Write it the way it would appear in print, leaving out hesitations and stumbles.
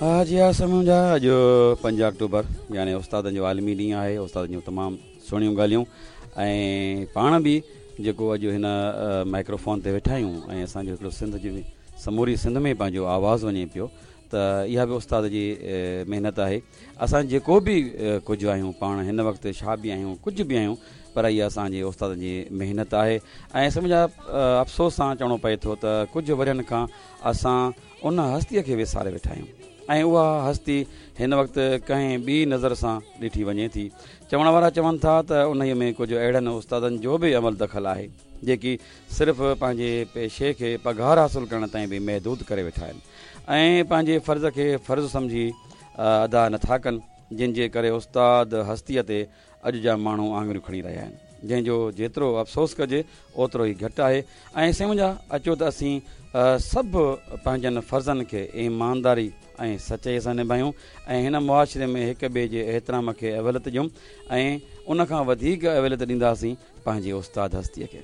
ها جي ها سمون جا اڄ 5 آڪٽوبر يعني استادن جو عالمي ڏينهن آهي. استادن جون تمام سهڻيون ڳالهيون ۽ پاڻ به جيڪو اڄ هن مائڪروفون تي ويٺا آهيون ۽ اسان جو هڪڙو سنڌ جي سموري سنڌ ۾ پنهنجو آواز وڃي پيو ته اها به استاد جي محنت آهي. اسان جيڪو به ڪجهه آهيون پاڻ هن وقت ڇا به آهيون ڪجهه به آهيون پر اها اسان جي استادن جي محنت آهي ۽ سمجها افسوس سان چوڻو پئي ٿو ته ڪجهه ورهين کان اسان ان هستيء کي وساري ويٺا آهيون ۽ اها هستي هن وقت ڪنهن ٻي نظر سان ڏٺي وڃي ٿي. چوڻ وارا چون ٿا ته انهيء ۾ ڪجهه اهڙن استادن جو به عمل دخل آهي، جيڪي صرف پنهنجي پيشي کي پگهار حاصل ڪرڻ تائين به محدود ڪري ويٺا آهن ۽ پنهنجي فرض کي فرض سمجهي ادا نٿا ڪن، جن جي ڪري استاد هستيء تي اڄ جا ماڻهو آڱريون کڻي رهيا آهن، جنهن جو جيترو افسوس ڪجي اوترو ئي گهٽ آهي ۽ سائين منهنجا اچو ته اسين سڀ پنهنجن فرضن کي ايمانداري ۽ سچائي سان نڀايون ۽ هن معاشري ۾ هڪ ٻئي جي احترام کي اوليت ڏيون ۽ ان کان وڌيڪ اوليت ڏينداسين پنهنجي استاد هستيء کي.